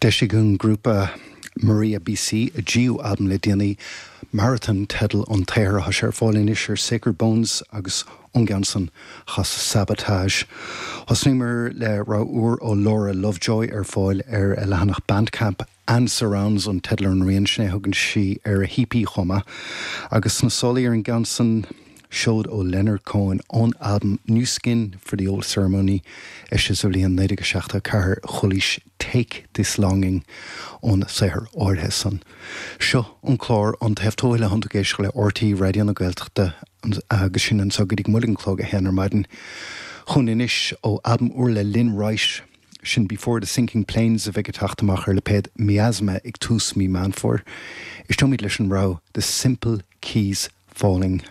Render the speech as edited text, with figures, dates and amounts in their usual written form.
D'eisigh an grúpa Maria BC a dtríú albam le déanaí, Marathon teideal an tsaothair atá sé ar fáil anois ar Sacred Bones agus ón gceann san chasadh Sabotage. Thosnaíomar le rogha úr ó Laura Lovejoy ar fáil ar a leathanach Bandcamp, And Surrounds an teideal ar an rian, sin é a thugann sí ar a hEP chomh maith. Agus sna sálaí ar an gceann san, seoid ó Leonard Cohen ón albam New Skin for the Old Ceremony, eisithe sa bhliain 1974, chualaís Take This Longing ón saothar áirithe san. Seo an clár An Taobh Tuathail atánn tú ag éisteacht le RTÉ Raidió na Gaeltachta agus sinn anseo go dtí go mbuailfidh an clog a haon ar maidin. Chugainn anois ó albam úr le Lynn Wright. Sin Before the Sinking Planes a bheidh ag teacht amach ar lipéad Miasma ag tús mí Meán Fómhair. Éisteoimid leis an rogha The Simple Keys Falling.